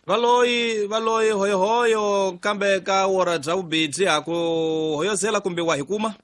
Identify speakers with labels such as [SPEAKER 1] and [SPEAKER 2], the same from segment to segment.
[SPEAKER 1] Valoyi valoyi hoyohoyo kambe ka wora bya vubidzi ha ku hoyozela kumbe wa hi kuma.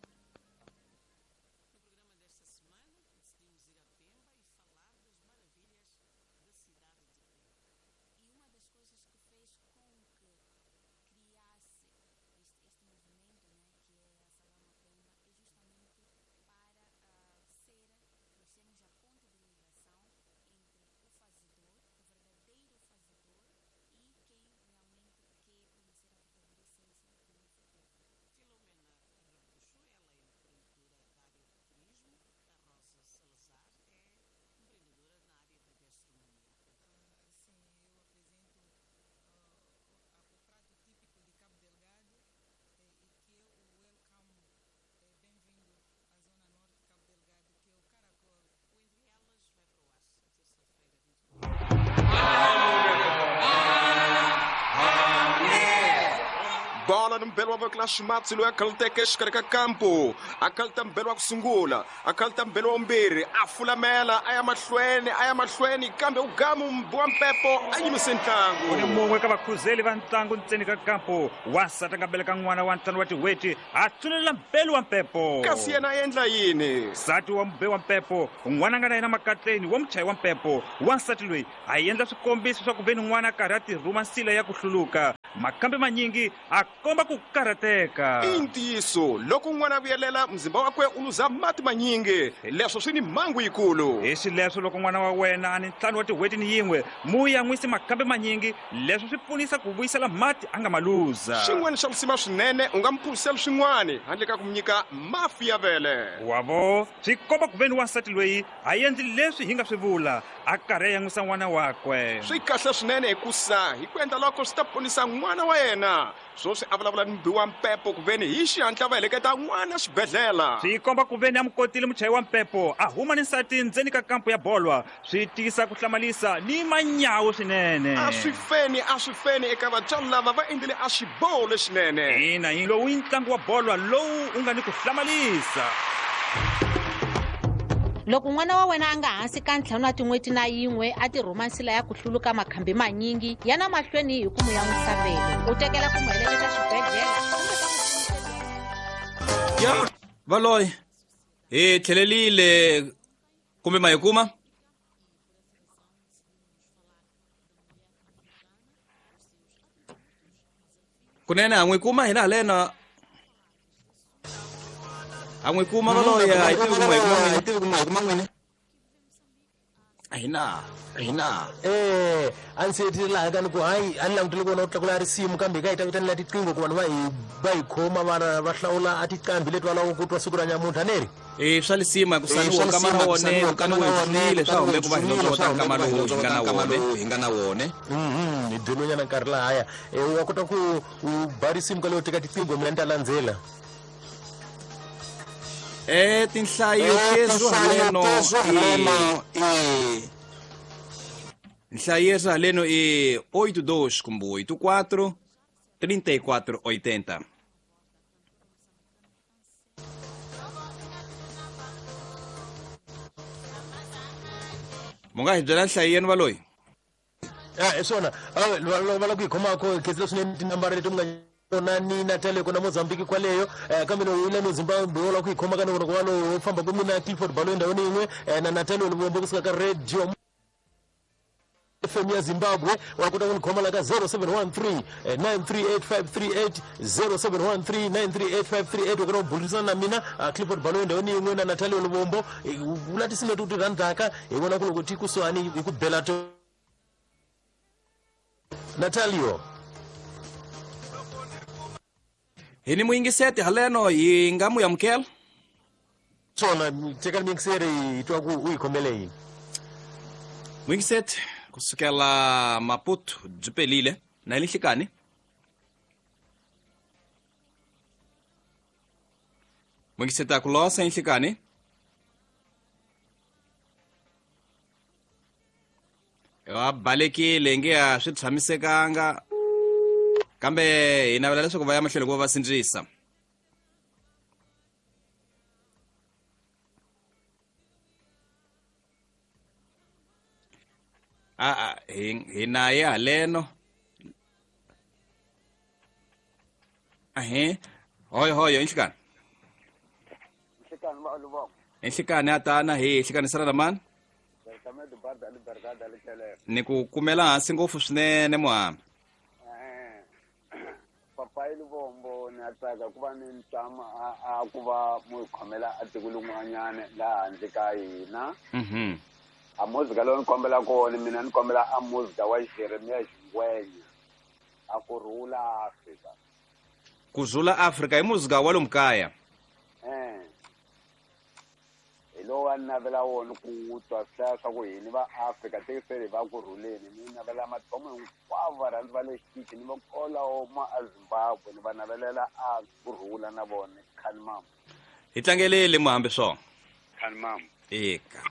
[SPEAKER 2] Bola ni mbelo wa voko la ximatsi loyi a khaluteke exikarhi ka kampo, a khaluta mbelo wa ku sungula, a khaluta mbelo wa vumbirhi, a fulamela a ya mahlweni, a ya mahlweni, kambe u gamu wa mpepo a yimise ntlangu.
[SPEAKER 3] U ni mun'we ka vakhuzeli va ntlangu ntseni ka kampo. Wansati a nga beleka n'wana wa ntlhanu wa tin'hweti, a tsulelela mbelu wa mpepo.
[SPEAKER 2] Kasi yena a endla yini?
[SPEAKER 3] Nsati wa mube wa mpepo, n'wana a nga na yena makatleni wa muchayi wa mpepo. Wansati loyi a endla swikombiso swa ku ve ni n'wana a karhi a tirhuma nsila ya ku hluluka. Makambe manyingi a komba ku karhateka.
[SPEAKER 2] I ntiyiso, loko n'wana a vuyelela, muzimba wakwe u luza mati manyingi. Leswo swi ni mhangu yikulu.
[SPEAKER 3] Hi xileswo, loko n'wana wa wena a ni ntlhanu wa tin'hweti ni yin'we, mu yan'wisi makambe manyingi. Leswo swi pfunisa ku vuyisela mati a nga ma luza.
[SPEAKER 2] Xin'wana xa lisima swinene, u nga mu phuzisela swin'wana handle ka ku mu nyika mafi ya vele.
[SPEAKER 3] Wa vo, swi komba ku ve ni wansati loyi a endli leswi hi nga swi vula, a karhi a yan'wisa n'wana wakwe.
[SPEAKER 2] Swi kahle swinene hikusa hi ku endla loko swi ta ponisa n'wana wa yena. Swoswi a vulavula ni mubi wa mpepo kuveni hi xihatla va heleketa n'wana xibedhlela.
[SPEAKER 3] Swi komba kuveni a mu kotile muchayi wa mpepo a huma ni nsati ndzeni ka kampo ya bolwa. Swi tisa ku hlamalisa ni manyawu swinene.
[SPEAKER 2] A swi feni, a swi feni eka vatswari lava va endlile a xiboho lexinene.
[SPEAKER 3] Ina, lowu i ntlangu wa bolwa lowu u nga ni ku hlamalisa.
[SPEAKER 4] Loko n'wana wa wena a nga hansi ka ntlhanu wa tin'hweti na yin'we a tirhuma nsila ya ku hluluka makhambi manyingi, yana mahlweni hi ku mu yan'wisa vele, u tekela ku mu heleketa xibedhlele kumbe ka
[SPEAKER 1] muxiniseleri. Ya valoyi hi tlhelelile kumbe ma hi kuma? Kunene ha n'wi kuma hina haleno, ha n'wi kuma valoyi, a hi tivi ku ma hi kuma n'wini.
[SPEAKER 5] Hi tivi ku ma hi kuma n'wini.
[SPEAKER 1] A hi na,
[SPEAKER 5] a hi na. A ndzi hetile laha ka ni ku hayi, a ni langutele ku vona u tlakula risimu, kambe hi ka hi ta vitanela tiqingho ku vanhu va hi va hi khoma va va hlawula a tiqambi leti va lavaka ku twa siku ra nyamuntlha, ne ri?
[SPEAKER 1] Swa lisima ku saniwa
[SPEAKER 5] Swa
[SPEAKER 1] nkama
[SPEAKER 5] lisima
[SPEAKER 1] na
[SPEAKER 5] ku
[SPEAKER 1] wone,
[SPEAKER 5] saniwa
[SPEAKER 1] kukani
[SPEAKER 5] nkama na
[SPEAKER 1] wu
[SPEAKER 5] wone,
[SPEAKER 1] hetsile, swa
[SPEAKER 5] kukani wu
[SPEAKER 1] hume ku va hi
[SPEAKER 5] hetsile,
[SPEAKER 1] londzoka
[SPEAKER 5] swa hume
[SPEAKER 1] nkama
[SPEAKER 5] ku va hi
[SPEAKER 1] lowu hi
[SPEAKER 5] londzoka
[SPEAKER 1] nga na
[SPEAKER 5] nkama
[SPEAKER 1] wone.
[SPEAKER 5] lowu hi nga na wone. Hi byeliwe nyana nkarhi lahaya. Wa kota ku u ba risimu ka leyo teka tiqingho, mina ni ta landzela.
[SPEAKER 1] Tinhlayo tezo
[SPEAKER 5] Tinhlayo
[SPEAKER 1] haleno
[SPEAKER 5] tezo
[SPEAKER 1] i
[SPEAKER 5] haleno i
[SPEAKER 1] Nhlayo yezo haleno i oito dois kumbe oito quatro, trinta e quatro oitenta. Mu nga hi byela nhlayo yenu valoyi?
[SPEAKER 5] Ya, hi swona. Loko va lava ku hi khomako, khensile swinene tinambara leti mi nga kona ni Natal kona Mozambique kwaleyo. Kambe loko u le Zimbabwe u lava ku hi khoma ka ni vona ku va lowu famba ku mina Clifford Baloyi ndhawini yin'we, na Natal Luvombo kusuka ka Radio FM ya Zimbabwe, wa kota ku ni khoma la ka zero seven one three, nine three eight five three eight, zero seven one three, nine three eight five three eight. Wa kota ku burisana na mina, Clifford Baloyi ndhawini yin'we na Natal Luvombo. Vula tinsimu leti u ti rhandzaka, hi vona ku loko ti kusuhani hi ku bela to. Natalio.
[SPEAKER 1] Hi ni muyingiseti haleno, hi nga mu amukela?
[SPEAKER 5] Swona, tekani muyingiseri hi twa ku u hi khomele yini.
[SPEAKER 1] Muyingiseti kusukela Maputo byi pelile na hi nhlikani. Muyingiseti a ku losa hi nhlikani. Va balekile nge a swi tshamisekanga, kambe hi navela leswaku va ya mahlweni ku va va sindzisa. A, a, hi, hi na ye haleno. Ahe. Hoyo hoyo inhlikani.
[SPEAKER 6] Inhlikani ba lubongo.
[SPEAKER 1] Inhlikani atana hi inhlikani sala mani. Ni ku kumela hansi ngopfu swinene muhamba.
[SPEAKER 6] Papai Lubombo ni tsaka ku va ni ntama a ku va mu khomela a tiko lin'wanyana laha handle ka hina. A muzika lowu ni kombela kona mina ni kombela a muzika wa Jeremia Xingwenya a ku rhula Afrika.
[SPEAKER 1] Ku rhula Afrika i muzika wa lomu kaya.
[SPEAKER 6] Hi lowu a ni navela wona ku twa swi hlaya swa ku hini va Afrika tekisele va ku rhuleni ni navela mathomo hinkwavo varhandzi va le xitichi ni va kolawo ma a Zimbabwe ni va navelela a ku rhula na vona khani mama.
[SPEAKER 1] Hi tlangelele muhambi swona.
[SPEAKER 6] Khani mama.
[SPEAKER 1] Eka.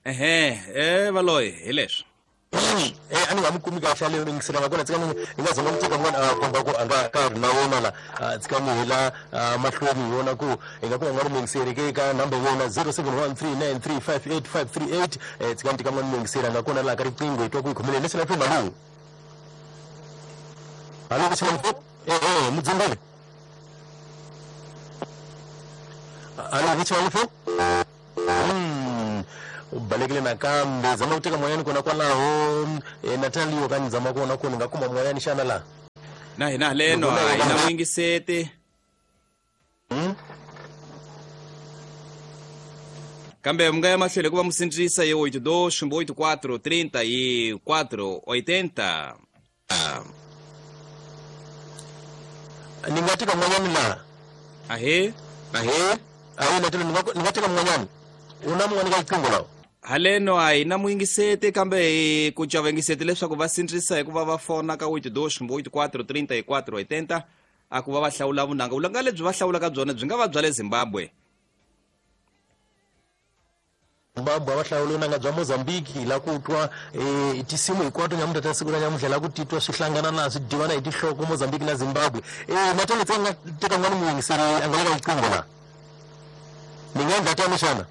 [SPEAKER 1] Ehe, valoyi hi leswi.
[SPEAKER 5] A ni nga mi kumi kahle leyo yingisela nga kona tshika ni nga zama ku teka n'wana a komba ku a nga ka ri na wona la tshika ni hela mahlweni hi yona ku hi nga kuma n'wana muyingiseri ke ka number yona 0713935838 tshika ni teka n'wana muyingiseri a nga kona laha ka riqingho hi twa ku hi khomeleni leswi na malume. Halo mudzimbele. Halo Richard. U balekile nakambe zama ku teka moyani kona kwalaho Natalio ka ni zama kona ku ni nga kuma moyani xana laha
[SPEAKER 1] na hina haleno a hi na muyingiseti kambe mi nga ya mahlweni ku va musindzisa hi 82 84 34 80.
[SPEAKER 5] Ni nga teka n'wanyani laha.
[SPEAKER 1] Ahe
[SPEAKER 5] ahe ahe Natalio ni nga teka n'wanyani u na mun'wana ka riqingho lawa.
[SPEAKER 1] Haleno a hi na muyingiseti kambe hi ku cava yingiseti leswaku va sindzisa hikuva va fona ka 82 84 34 80 a ku va va hlawula vunanga. Vunanga lebyi va hlawulaka byona byi nga va bya le Zimbabwe.
[SPEAKER 5] Zimbabwe va hlawula vunanga bya Mozambique la ku twa tinsimu hinkwato nyamuntlha ta siku ra nyamuntlha la ku titwa swi hlangana na swi divana hi tinhloko Mozambique na Zimbabwe. Natale tse nga teka n'wana muyingiseri a nga le ka riqingho laha. Ni nga endla tani xana?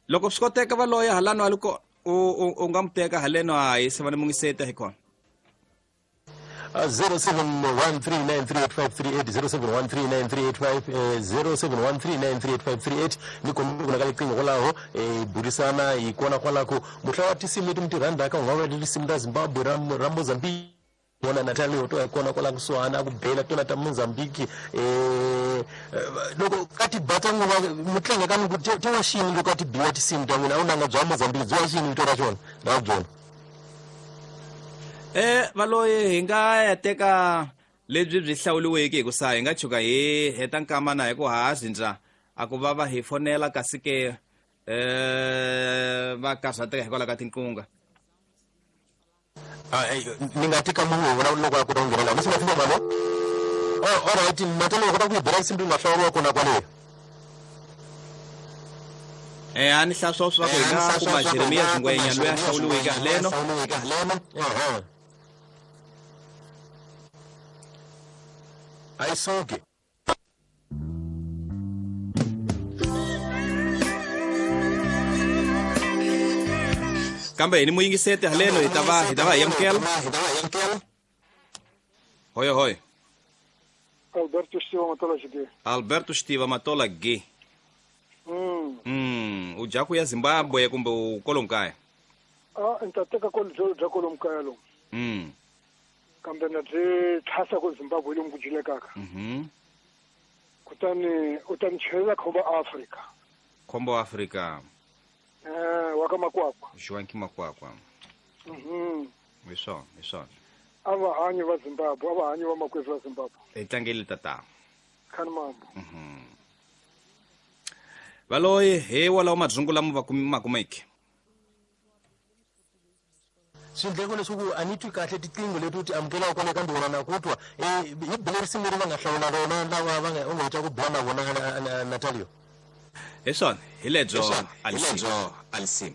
[SPEAKER 1] Loko swi koteka va loya halano a loko u nga mu teka haleno a hi se va ni mungiseta hi kona.
[SPEAKER 5] 0713938538 07139385 0713938538 ni kombela ku na ka riqingho kwalaho burisana hi kona kwalako muhla wa tinsimu leti mi ti rhandzaka u nga vula tinsimu ta Zimbabwe ra Mozambique vona Natalio to hi kona kwala kusuhana a ku bela tona ta Mozambique loko ka ti ba ta n'wina mi tlanga ka ni ti wa xini loko a ti biwa tinsimu ta n'wina a wu nanga bya Mozambique byi wa xini vito ra xona ra byona.
[SPEAKER 1] Valoyi hi nga ya teka lebyi byi hlawuliweke hi ku sa hi nga tshuka hi heta nkamana hi ku ha zindza a ku va va hi fonela kasi ke va karhateka hikwalaho ka tinqunga.
[SPEAKER 5] Ni nga teka munhu vona loko a kota ku nghenela leswi nga fika mali. All right, Natalio kota ku yi bela nsimbi nga hlawuriwa kona kwaleyo.
[SPEAKER 1] A ni hlaya swa ku hi nga kuma Jeremia Xingwenya loyi a hlawuliweke haleno.
[SPEAKER 5] A yi suki.
[SPEAKER 1] Kambe hi ni muyingiseti haleno hi ta va hi amukela. Hoyo hoyo.
[SPEAKER 7] Alberto Stiva Matola G.
[SPEAKER 1] Alberto Stiva Matola G. U dya ku ya Zimbabwe kumbe u kwalomu kaya?
[SPEAKER 7] Ni ta teka bya kwalomu kaya lomu. Kambe na byi tlhasa ku Zimbabwe lomu ku dyilekaka. Kutani u ta ni chelela khombo Afrika.
[SPEAKER 1] Khombo Afrika.
[SPEAKER 7] Wa ka Makwakwa.
[SPEAKER 1] Joaquim Makwakwa. Hi swona, hi swona.
[SPEAKER 7] A va hanyi va Zimbabwe, a va hanyi va makwerhu va Zimbabwe.
[SPEAKER 1] Hi tlangele tata.
[SPEAKER 7] Khani mambo.
[SPEAKER 1] Valoyi hi walawo madzungu lama va ma kumeke.
[SPEAKER 5] Swindleko leswaku a ni twi kahle tiqingho leti u ti amukelaka kwale kambe wena na ku twa hi bele risimu leri va nga hlawula rona lava va nga u nga heta ku bula na vona Natalio.
[SPEAKER 1] Hi swona, hi lebyo Alisim.